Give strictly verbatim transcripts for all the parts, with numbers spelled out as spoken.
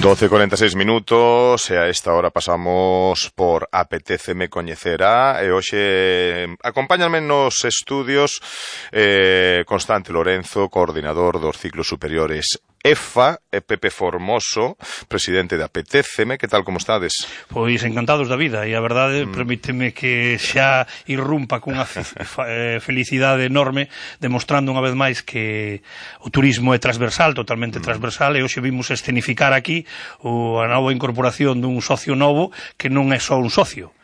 doce e cuarenta e seis minutos e a esta hora pasamos por Apetéceme Coñecerá e hoxe acompáñanme nos estudios eh, Constante Lorenzo, coordinador dos ciclos superiores E F A, e Pepe Formoso, presidente de Apetéceme. Que tal, como estades? Pois encantados da vida, e a verdade mm. permíteme que xa irrumpa cunha felicidade enorme, demostrando unha vez máis que o turismo é transversal, totalmente mm. transversal, e hoxe vimos escenificar aquí o, a nova incorporación dun socio novo que non é só un socio,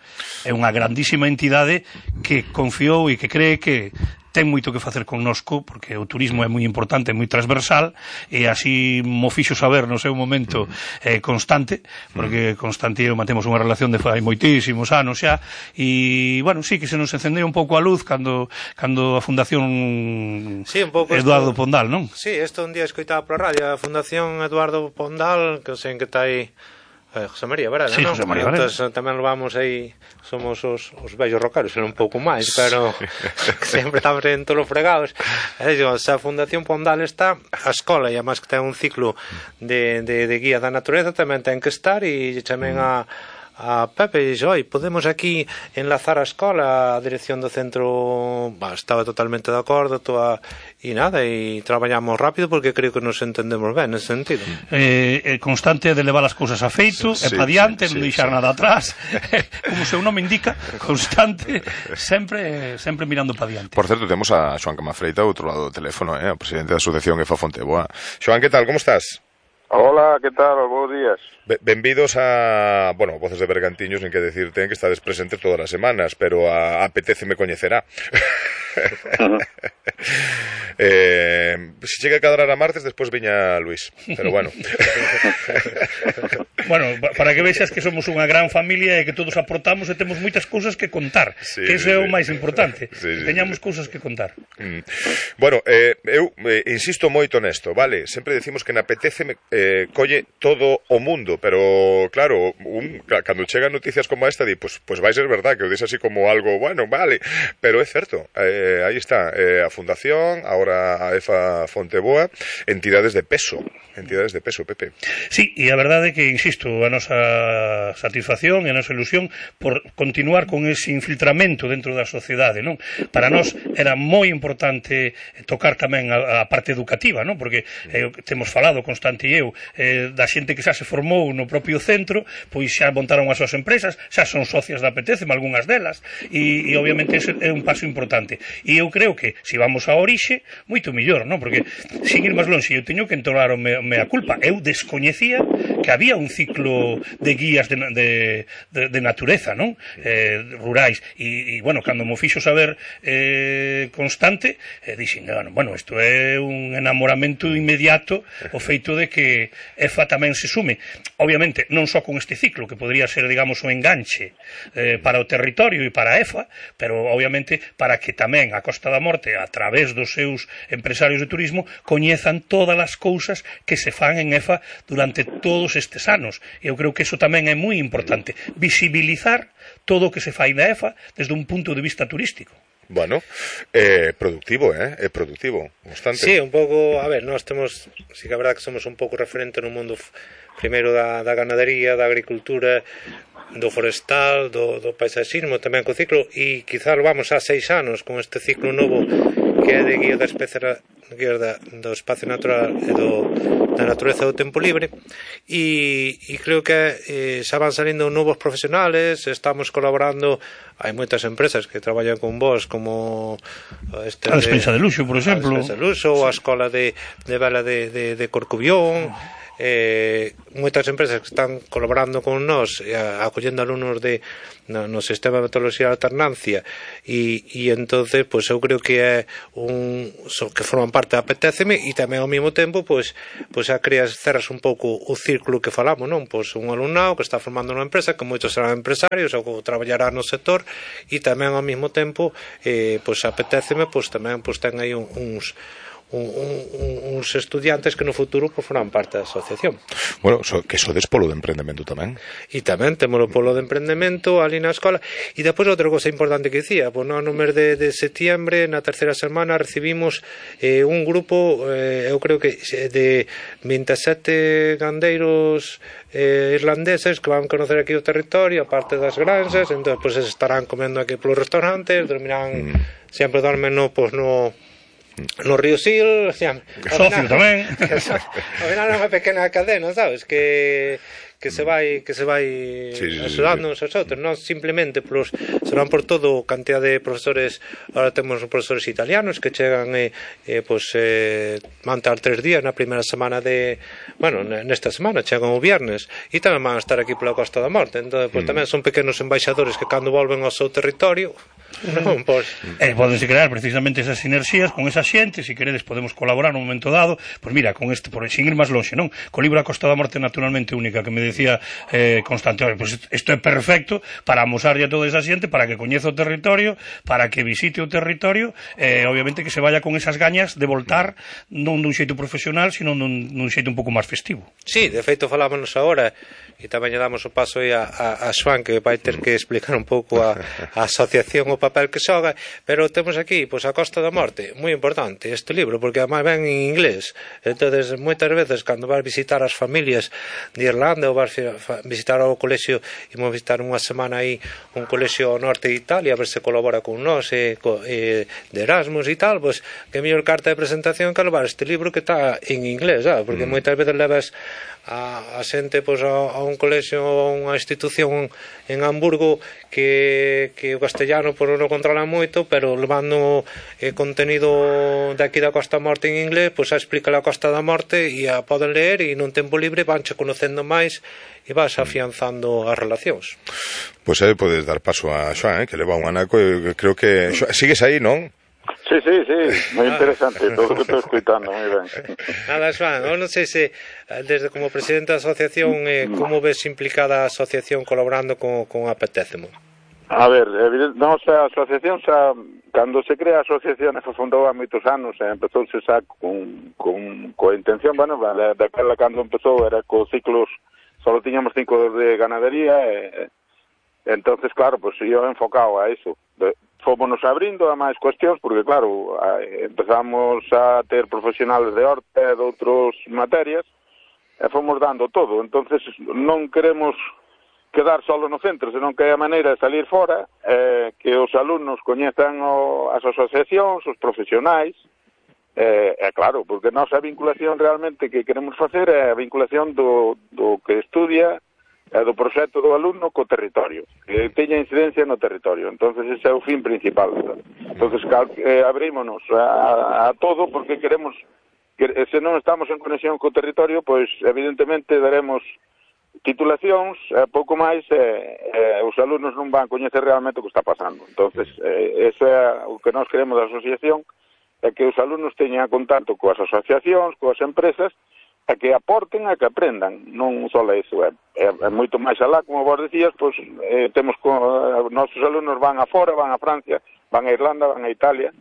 é unha grandísima entidade que confiou e que cree que ten moito que facer connosco, porque o turismo é moi importante, é moi transversal, e así mo fixo saber no seu momento eh, Constante, porque Constante e eu mantemos unha relación de fai moitísimos anos xa, e, bueno, sí que se nos encendeu un pouco a luz cando, cando a Fundación sí, un pouco Eduardo esto, Pondal, non? Sí, isto un día escoitaba pola radio, a Fundación Eduardo Pondal, que sei que está aí Eh, José María Varela, sí, non? José María Varela. Entón, tamén lo vamos aí, somos os, os vellos rocaros, un pouco máis, pero sempre estamos en todos os fregados. E digo, se a Fundación Pondal está, a escola, e además que ten un ciclo de, de, de guía da natureza, tamén ten que estar, e tamén a a Pepe e dixo, oi, podemos aquí enlazar a escola, a dirección do centro bah, estaba totalmente de acordo, toda, e nada, e traballamos rápido porque creo que nos entendemos ben nesse sentido. Eh, eh, Constante de levar as cousas a feito, sí, e pa diante, sí, non deixar sí, nada atrás, como o seu nome indica, constante, sempre sempre mirando pa diante. Por certo, temos a Xoán Camafreita ao outro lado do teléfono, eh, o presidente da Asociación E F A Fonteboa. Xoán, que tal, como estás? Hola, que tal? Bos días. Benvidos a, bueno, Voces de Bergantiños, nin que decirte que estades presentes todas as semanas, pero a Apetéceme Coñecerá. Uh-huh. eh, se chega a cadrar a martes, despois viña Luis, pero bueno. Bueno, para que vexas que somos unha gran familia e que todos aportamos e temos moitas cousas que contar, sí, que iso sí, é o máis importante, sí, sí, teñamos sí, cousas que contar. Mm. Bueno, eh, eu eh, insisto moito nesto, vale? Sempre decimos que na Apetéceme eh, colle todo o mundo, pero claro, un, cando chegan noticias como esta, di, pues, pues vai ser verdad, que o dis así como algo, bueno, vale, pero é certo, eh, aí está, eh, a Fundación, ahora a E F A Fonteboa, entidades de peso, entidades de peso, Pepe. Sí, e a verdade é que, insisto, a nosa satisfacción e a nosa ilusión por continuar con ese infiltramento dentro da sociedade, non? Para nós era moi importante tocar tamén a, a parte educativa, non? Porque eh, temos falado, Constante e eu, eh, da xente que xa se formou no propio centro, pois xa montaron as súas empresas, xa son socias da Apetéceme, algunhas delas, e, e obviamente ese é un paso importante. E eu creo que, se vamos a orixe, moito mellor, non? Porque, sin ir máis longe, eu teño que entonar o me, mea culpa. Eu descoñecía que había un ciclo de guías de, de, de, de natureza, non? Eh, rurais. E, e, bueno, cando mo fixo saber eh, Constante, eh, dixen, bueno, isto é un enamoramento inmediato o feito de que E F A tamén se sume. Obviamente, non só con este ciclo, que podría ser, digamos, o enganche eh, para o territorio e para a E F A, pero, obviamente, para que tamén a Costa da Morte, a través dos seus empresarios de turismo, coñezan todas as cousas que se fan en E F A durante todos estes anos. Eu creo que iso tamén é moi importante, visibilizar todo o que se fai na E F A desde un punto de vista turístico. Bueno, eh, productivo, eh, é productivo, Constante. Sí, un pouco, a ver, nós temos, sí que é verdad que somos un pouco referente no mundo primeiro da, da ganadería, da agricultura, do forestal, do, do paisaxismo, tamén co ciclo, e quizás vamos a seis anos con este ciclo novo que é de guía da especie guía da, do espacio natural e do, da natureza do tempo libre, e, e creo que eh, xa van salindo novos profesionales, estamos colaborando, hai moitas empresas que traballan con vos, como este a Despensa de, de Luxo, por exemplo, a Despensa de Luxo, sí, ou a Escola de, de Vela de, de, de Corcubión. Eh, moitas empresas que están colaborando con nós, eh, acollendo alumnos de no, no sistema de metodoloxía de alternancia, e, e entonces pues, eu creo que é un so, que forman parte da Apetéceme, e tamén ao mesmo tempo pues, pues, a creas, cerras un pouco o círculo que falamos, non? Pues, un alumnado que está formando unha empresa, que moitos serán empresarios ou que traballará no sector, e tamén ao mesmo tempo eh, pues, a Apetéceme pues, tamén pues, ten aí un, uns un, un, uns estudiantes que no futuro pues, forman parte da asociación. Bueno, so, que sodes polo de emprendemento tamén. E tamén temos o polo de emprendemento ali na escola. E depois outra cosa importante que dicía, pues, no, no mes de, de setiembre, na terceira semana, recibimos eh, un grupo, eh, eu creo que de vinte e sete gandeiros eh, irlandeses que van conocer aquí o territorio, aparte das granxas, entón pues, estarán comendo aquí polos restaurantes, dormirán, mm. sempre dormen no, pues, no no Río Sil, xa, socio tamén. Ao final é unha pequena cadena, sabes, que que se vai que se vai sí, sí, axudando sí, sí. uns aos outros, non simplemente polos, serán por todo cantidad de profesores. Ahora temos profesores italianos que chegan e, e pois eh, van estar tres días na primeira semana de, bueno, nesta semana chegan o viernes e tamén van a estar aquí pola Costa da Morte, entón pois mm. tamén son pequenos embaixadores que cando volven ao seu territorio non, pois eh, podense crear precisamente esas sinerxías con esa xente, se queredes podemos colaborar nun momento dado, pois mira, con este, por sin ir máis lonxe, non? Co libro A Costa da Morte naturalmente única que me decía eh, Constante, pois isto é perfecto para amosarlle a toda esa xente, para que coñeza o territorio, para que visite o territorio, e eh, obviamente que se vaya con esas gañas de voltar non dun xeito profesional, sino dun, dun xeito un pouco máis festivo. Sí, de feito falámonos agora e tamén lle damos o paso aí a, a, a Xoan, que vai ter que explicar un pouco a, a asociación, o papel que xoga, pero temos aquí pois a Costa da Morte, moi importante este libro, porque además ven en inglés, entonces moitas veces cando vas visitar as familias de Irlanda ou vas visitar o colexio, imos visitar unha semana aí un colexio ao norte de Italia, a ver se colabora con nós e, e de Erasmus e tal, pois que mellor carta de presentación que levar este libro que está en inglés, ¿sabes? Porque mm. moitas veces levas a, a xente pois, a, a un colexio ou unha institución en Hamburgo que, que o castellano por non controla moito, pero levando eh, contenido de aquí da Costa da Morte en inglés, pois a explica a Costa da Morte e a poden ler e nun tempo libre vanche conocendo máis e vas afianzando as relacións. Pois aí podes dar paso a Xoan, eh, que leva un anaco, e creo que Xoan, sigues aí, non? Sí, sí, sí, moi interesante todo o que estou escuitando, moi ben. Nada, Xoan, eu non sei se desde como presidente da asociación eh, como ves implicada a asociación colaborando con, con Apetécemo? A ver, nosa asociación xa, cando se crea a asociación se fundou há moitos anos, e empezouse xa con, con, coa intención, bueno, daquela cando empezou era co ciclos, só tiñamos cinco de ganadería, e, e entonces claro, pues yo enfocado a iso. Fomos abrindo a máis cuestións, porque claro, empezamos a ter profesionales de horta e de outras materias, e fomos dando todo. Entonces non queremos quedar solo no centro, senón que hai a maneira de salir fora, eh, que os alumnos coñezan o, as asociacións, os profesionais, e eh, claro, porque a nosa vinculación realmente que queremos facer é a vinculación do, do que estudia e do proxecto do alumno co territorio, que teña incidencia no territorio. Entonces ese é o fin principal. Entonces eh, abrímonos a, a todo, porque queremos que se non estamos en conexión co territorio, pois evidentemente daremos titulacións, eh, pouco máis, eh, eh, os alumnos non van coñecer realmente o que está pasando. Entonces eh, eso é o que nós queremos da asociación, é que os alumnos teñan contacto coas asociacións, coas empresas, a que aporten, a que aprendan, non só iso, é, é, é moito máis alá, como vos decías, pois eh, temos con, eh, nosos alumnos van a fora, van a Francia, van a Irlanda, van a Italia,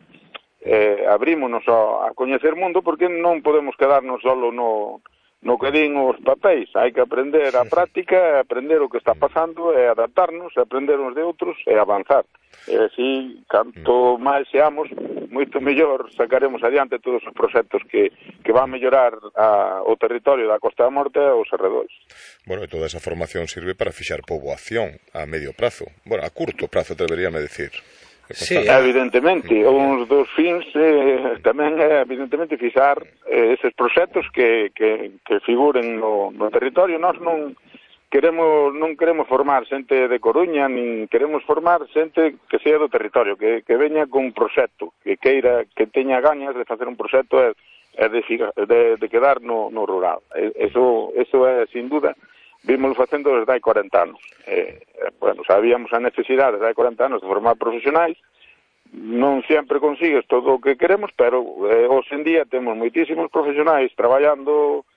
eh, abrímonos a, a coñecer mundo, porque non podemos quedarnos solo no, no que din os papéis, hai que aprender a práctica, aprender o que está pasando, e adaptarnos, e aprender uns de outros, e avanzar. E así, canto máis seamos, moito mellor sacaremos adiante todos os proxectos que, que van mellorar a, o territorio da Costa da Morte e os arredores. Bueno, e toda esa formación sirve para fixar poboación a medio prazo. Bueno, a curto prazo, deberíame decir. Sí, evidentemente, uns dos fins eh, tamén é evidentemente fixar eh, eses proxectos que, que, que figuren no, no territorio. Nós non queremos non queremos formar xente de Coruña, nin queremos formar xente que sea do territorio, que, que veña con un proxecto, que queira, que teña gañas de facer un proxecto e, e de, de, de quedar no, no rural. Eso, eso é, sin duda, vimos facendo desde hai cuarenta anos. Eh, bueno, sabíamos a necesidade desde hai cuarenta anos de formar profesionais, non sempre consigues todo o que queremos, pero eh, hoxe en día temos moitísimos profesionais traballando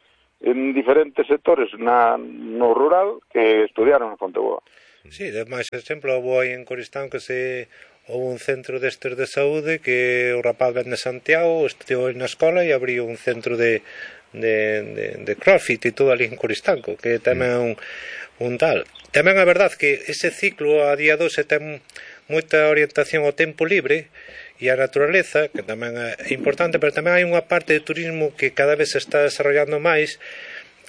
en diferentes sectores na, no rural que estudiaron en Fonteboa. Sí, de máis exemplo, vou aí en Coristán que se houve un centro destes de saúde que o rapaz ven de Santiago, estudiou na escola e abriu un centro de, de, de, de crossfit e todo ali en Coristanco, que tamén é un, un tal. Tamén é verdade que ese ciclo a día doce ten moita orientación ao tempo libre e a naturaleza, que tamén é importante, pero tamén hai unha parte de turismo que cada vez se está desarrollando máis,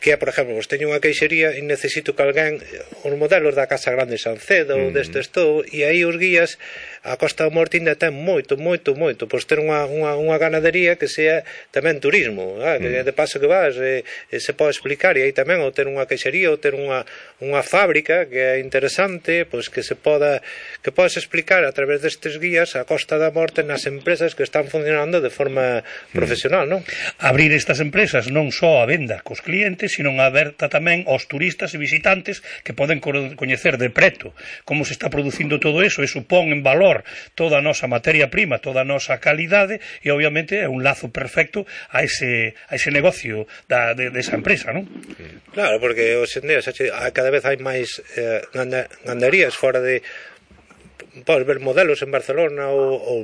que é, por exemplo, vos teño unha queixería e necesito que alguén, os modelos da Casa Grande Sancedo, ou destes todo, e aí os guías, a Costa da Morte ainda ten moito, moito, moito, pois ter unha, unha, unha ganadería que sea tamén turismo, ah, que de paso que vas, e, e se pode explicar, e aí tamén, ou ter unha queixería, ou ter unha, unha fábrica, que é interesante, pois que se poda, que podes explicar a través destes guías a Costa da Morte nas empresas que están funcionando de forma profesional, non? Abrir estas empresas non só a venda cos clientes, sino aberta tamén aos turistas e visitantes que poden coñecer de preto como se está producindo todo eso, e supón en valor toda a nosa materia prima, toda a nosa calidade, e obviamente é un lazo perfecto a ese, a ese negocio da, de, de esa empresa, non? Claro, porque hoxe en día cada vez hai máis eh, gandarías fora de... Podes ver modelos en Barcelona ou, ou